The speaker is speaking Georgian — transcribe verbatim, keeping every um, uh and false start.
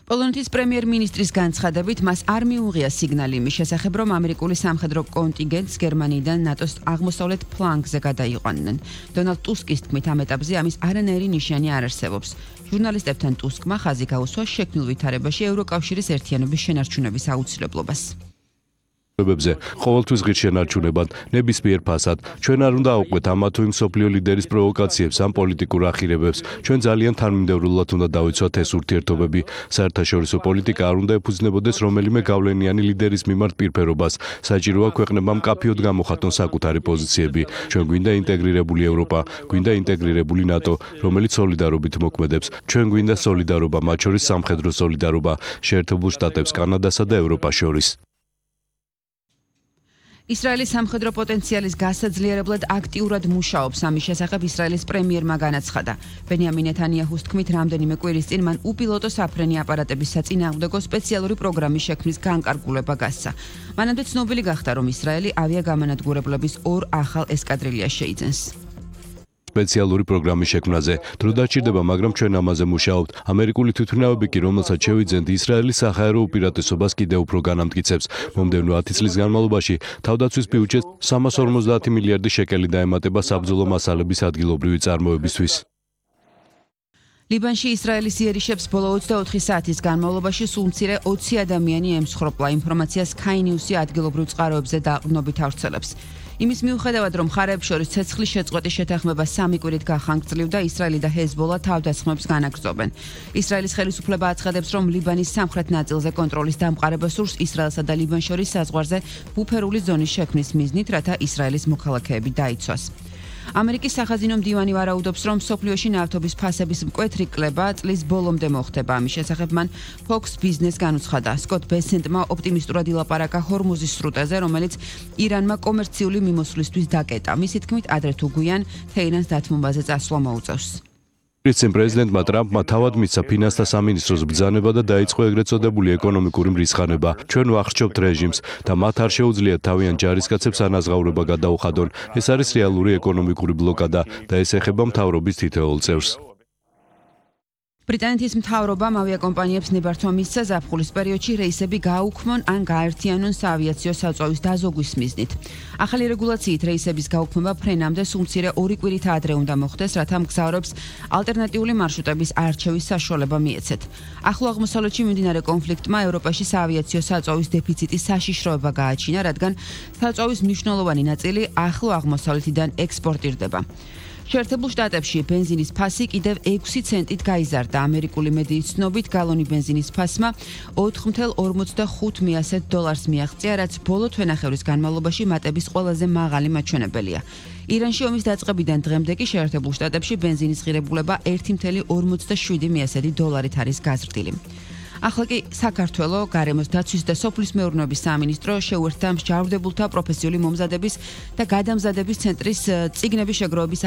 პოლონეთის პრემიერ-მინისტრის განცხადებით მას არ მიუღია სიგნალი იმის შესახებ, რომ ამერიკული სამხედრო კონტინგენტს გერმანიიდან ნატოს აღმოსავლეთ ფლანგზე გადაიყვანნენ. დონალდ ტუსკის თქმით, ამ ეტაპზე ამის არანაირი ნიშანი არ არსებობს. ჟურნალისტებთან ტუსკმა ხაზი გაუსვა შექმნილ ვითარებაში ევროკავშირის ერთიანობის შენარჩუნების აუცილებლობას. ყოველთვის ღირს შენარჩუნებად, ნებისმიერ ფასად. ჩვენ არ უნდა აუყვეთ ამა თუ იმ მსოფლიო ლიდერის პროვოკაციებს ან პოლიტიკურ ახირებებს. ჩვენ ძალიან თანმიმდევრულად უნდა დავიცვათ ეს ურთიერთობები. საერთაშორისო პოლიტიკა არ უნდა ეფუძნებოდეს რომელიმე გავლენიანი ლიდერის მიმართ პირფერობას. საჭიროა ქვეყნებმა მკაფიოდ გამოხატონ საკუთარი პოზიციები. ჩვენ გვინდა ინტეგრირებული ევროპა, გვინდა ინტეგრირებული ნატო, რომელიც სოლიდარობით მოქმედებს. ჩვენ გვინდა სოლიდარობა, მათ შორის სამხედრო სოლიდარობა, შეერთებულ შტატებს, კანადასა და ევროპას შორის. ისრაელის სამხედრო პოტენციალის გასაძლიერებლად აქტიურად მუშაობს. ამის შესახებ ისრაელის პრემიერმა განაცხადა. ბენიამინ ნეთანიაჰუს თქმით, რამდენიმე კვირის წინ მან უპილოტო საფრენი აპარატების საწინააღმდეგო სპეციალური პროგრამის შექმნის განკარგულება გასცა. მანამდე ცნობილი გახდა, რომ ისრაელი ავიაგამანადგურებლების ორ ახალ ესკადრილიას შეიძენს. სპეციალური პროგრამის შექმნაზე დრო დაჭირდება, მაგრამ ჩვენ ამაზე მუშაობთ. ამერიკული თვითმფრინავები კი, რომელსაც შევიძენთ, ისრაელის საჰაერო უპირატესობას კიდევ უფრო განამტკიცებს. მომდევნო ათი წლის განმავლობაში თავდაცვის ბიუჯეტს სამას ორმოცდაათი მილიარდი შეკელი დაემატება საბრძოლო მასალების ადგილობრივი წარმოებისთვის. ლიბანში ისრაელის იერიშებს ბოლო ოცდაოთხი საათის განმავლობაში სულ მცირე ოცი ადამიანი ემსხვერპლა. ინფორმაციას Sky News-ი ადგილობრივ წყაროებზე დაყრდნობით ავრცელებს. იმის მიუხედავად, რომ მხარეებს შორის ცეცხლის შეწყვეტის შეთანხმება სამი კვირით გახანგრძლივდა, ისრაელი და ჰეზბოლა თავდასხმებს განაგრძობენ. ისრაელის ხელისუფლება აცხადებს, რომ ლიბანის სამხრეთ ნაწილზე კონტროლის დამყარება სურს ისრაელსა და ლიბანს შორის საზღვარზე ბუფერული ზონის შექმნის მიზნით, რათა ისრაელის მოქალაქეები დაიცვას. ამერიკის სახაზინო მდივანი ვარაუდობს, რომ მსოფლიოში ნავთობის ფასების მკვეთრი კლება წლის ბოლომდე მოხდება. ამის შესახებ მან Fox Business განუცხადა. სკოტ ბესენტმა ოპტიმისტურად ილაპარაკა ჰორმუზის სრუტეზე, რომელიც ირანმა კომერციული მიმოსვლისთვის დაკეტა. მისი თქმით, ადრე თუ გვიან თეირანს დათმობაზე წასვლა მოუწევს. პრეზიდენტ პრეზიდენტმა ტრამპმა თავად მისცა ფინანსთა სამინისტროს ბრძანება და დაიწყო ეგრეთ წოდებული ეკონომიკური მრისხანება. ჩვენ ვახრჩობთ რეჟიმს და მათ არ შეუძლიათ თავიანთ ჯარისკაცებს ანაზღაურება გადაუხადონ. ეს არის რეალური ეკონომიკური ბლოკადა და ეს ეხება მთავრობის თითოეულ წევრს. ბრიტანეთის მთავრობამ ავიაკომპანიებს ნებართვა მისცა ზაფხულის პერიოდში რეისები გააუქმონ ან გააერთიანონ საავიაციო საწვავის დაზოგვის მიზნით. ახალი რეგულაციით რეისების გაუქმება ფრენამდე სულ მცირე ორი კვირით ადრე უნდა მოხდეს, რათა მგზავრებს ალტერნატიული მარშრუტების არჩევის საშუალება მიეცეთ. ახლო აღმოსავლეთში მიმდინარე კონფლიქტმა ევროპაში საავიაციო საწვავის დეფიციტის საშიშროება გააჩინა, რადგან საწვავის მნიშვნელოვანი ნაწილი ახლო აღმოსავლეთიდან ექსპორტირდება. შეერთებულ შტატებში ბენზინის ფასი კიდევ ექვსი ცენტით გაიზარდა. ამერიკული მედიის ცნობით, გალონი ბენზინის ფასმა ოთხ ათას ორმოცდახუთ დოლარს მიაღწია, რაც ბოლო თვენახევრის განმავლობაში მატების ყველაზე მაღალი მაჩვენებელია. ირანში ომის დაწყებიდან დღემდე კი შეერთებულ შტატებში ბენზინის ღირებულება ერთი ათას ორმოცდაშვიდი დოლარით არის გაზრდილი. ახლა კი საქართველოს გარემოს დაცვის და სოფლის მეურნეობის სამინისტრო შეუერთდა მსჯავრდებულთა პროფესიული მომზადების და გადამზადების ცენტრის წიგნების შეგროვების